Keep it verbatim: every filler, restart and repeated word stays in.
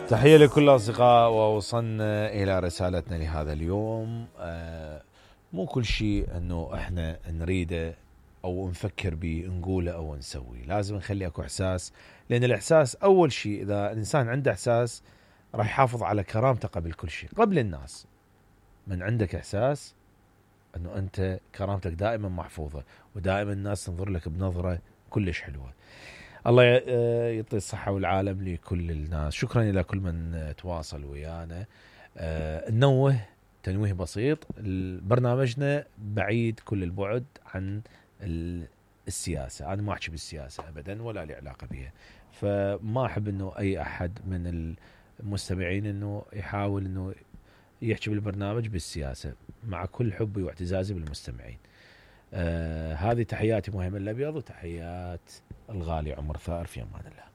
تحية لكل الأصدقاء، ووصلنا إلى رسالتنا لهذا اليوم. آه مو كل شيء أنه إحنا نريده أو نفكر به نقوله أو نسويه، لازم نخلي أكو إحساس، لأن الإحساس أول شيء إذا الإنسان عنده إحساس راح يحافظ على كرامته قبل كل شيء، قبل الناس. من عندك إحساس أنه أنت كرامتك دائما محفوظة، ودائما الناس تنظر لك بنظرة كلش حلوة. الله يعطي الصحة والعالم لكل الناس. شكرا إلى كل من تواصل ويانا. أه ننوه تنويه بسيط، برنامجنا بعيد كل البعد عن السياسة. أنا ما أحكي بالسياسة أبدا ولا لي علاقة بها، فما أحب أنه أي أحد من المستمعين أنه يحاول أنه يحكي بالبرنامج بالسياسة، مع كل حبي واعتزازي بالمستمعين. آه هذه تحياتي مهم الأبيض، وتحيات الغالي عمر ثائر. في أمان الله.